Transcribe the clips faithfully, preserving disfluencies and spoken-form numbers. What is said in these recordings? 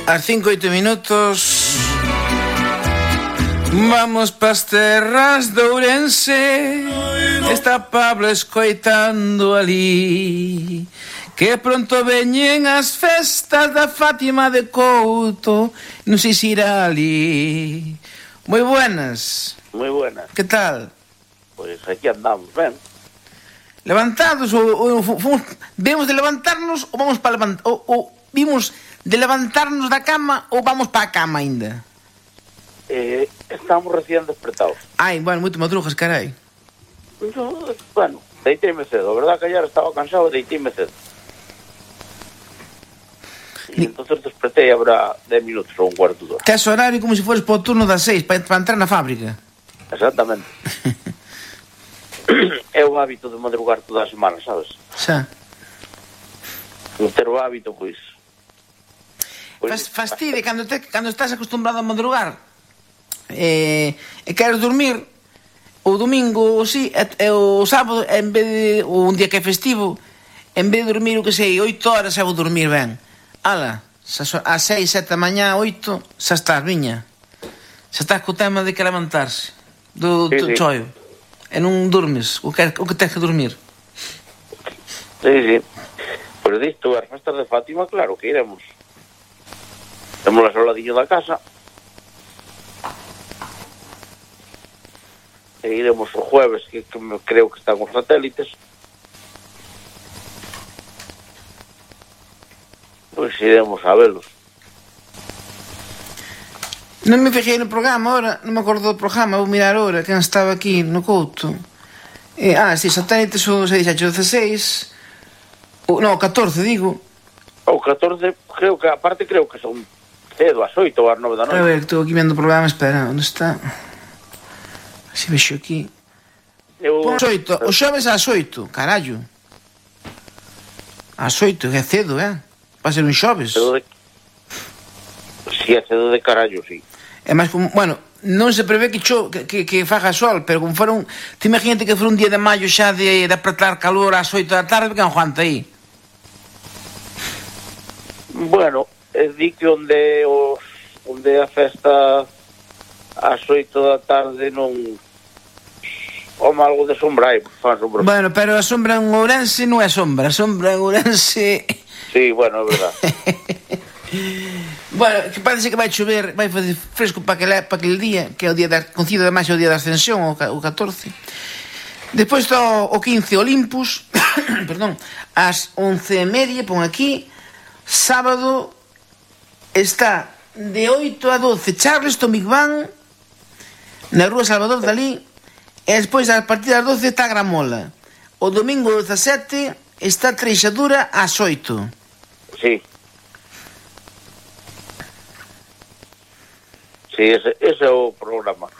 As cinco e oito minutos. Vamos pas terras de Ourense. Está Pablo escoitando ali que pronto veñen as festas da Fátima de Couto. Non sei se irá ali. Moi buenas. Moi buenas. Que tal? Pois aquí andamos, ben. Levantados ou, ou fomos, vemos de levantarnos ou vamos para levantar ou, ou vimos de levantarnos da cama ou vamos para a cama aínda? Eh, estamos recién despertados. Ai, bueno, moito madrugas, carai. Yo, bueno, deiteime cedo, a verdad que ayer estaba cansado e deiteime cedo. E Ni... entonces despertei habrá dez minutos ou un cuarto de hora. Tes horario como se fores para o turno das seis para, para entrar na fábrica. Exactamente. É o hábito de madrugar toda a semana, sabes? Xa. Non ter o hábito, pois... pois Fas, fastide cando, te, cando estás acostumbrado a madrugar e, e queres dormir o domingo ou si, e, e o sábado en vez de, ou un día que é festivo, en vez de dormir o que sei oito horas, xa vou dormir ben. Ala, a seis, sete da mañá, oito, xa estás, viña. Xa estás co tema de que levantarse do, sí, do sí. choio. E non dormes o que, o que tens que dormir. Sí, sí. Pero disto, as festas de Fátima, claro que iremos. Temos a soladinho da casa. E iremos o jueves, que, que me creo que están os satélites. Pois iremos a velos. Non me fixei no programa ahora, non me acordo do programa, vou mirar ahora quen estaba aquí no Couto. Eh, ah, si, satélites o se dixaxe dezasseis, o, non, o catorce, digo. O catorce, creo que, aparte creo que son cedo, ás oito ou ás nove da noite. A ver, estou aquí vendo o programa, espera, onde está? Se vexo aquí. Eu... Pon oito, o xoves ás oito, carallo. Ás oito, que é cedo, eh? Va ser un xoves. Cedo de... Si é cedo de carallo, si. É máis como, bueno, non se prevé que, cho, que, que, que faga sol, pero como fora un... Te imagínate que fora un día de maio xa de, de apretar calor ás oito da tarde, que aguanta aí. Bueno, é di que onde os onde a festa ás oito da tarde non home algo de sombra aí, fan sombra. Bueno, pero a sombra en Ourense non é sombra, a sombra en Ourense... Sí, bueno, é verdad. Bueno, que parece que vai chover, vai fazer fresco para aquele, para aquele día, que é o día da, coincide ademais o día da Ascensión, o, o catorce. Despois está o, o quince Olympus, perdón, ás once e media, pon aquí, sábado está de oito a doce Charleston Big Bang, na rúa Salvador Dalí, e despois a partir das doce está Gramola. O domingo dezasete está Treixadura ás oito. Sí. Sí, ese, ese é o programa.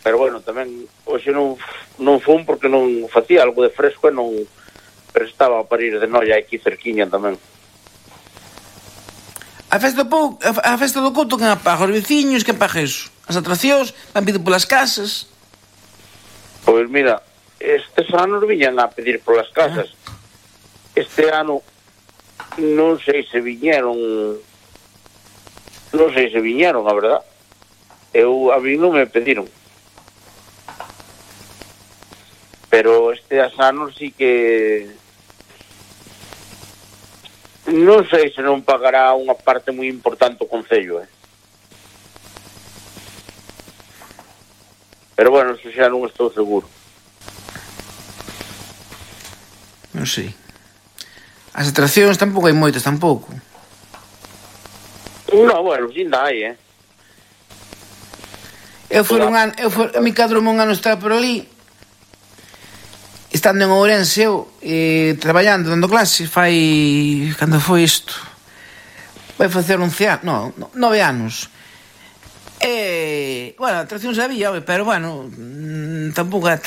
Pero bueno, tamén hoxe non, non fun porque non facía algo de fresco e non, pero estaba para ir de noia aquí cerquiña tamén. A festa do Pou, a festa do Couto, quen apaga? Os veciños, quen paga eso? As atraccións, van pido polas casas. Pois mira, estes anos viñan a pedir polas casas. Este ano non sei se viñeron, non sei se viñeron, a verdad. Eu, a mí non me pediron. Pero este anos sí que non sei se non pagará unha parte moi importante o Concello, eh. Pero bueno, eso xa non estou seguro. Non sei. As atraccións tampouco hai moitas, tampouco. No, bueno, sin da hai, eh. Eu fui un ano, eu fui, a mi cadrome un ano estar por ali, estando en Ourense eu, eh, traballando, dando clases, fai, cando foi isto? Vai facer once anos, no, no, nove anos. E, bueno, atraccións había, pero bueno, tampouco é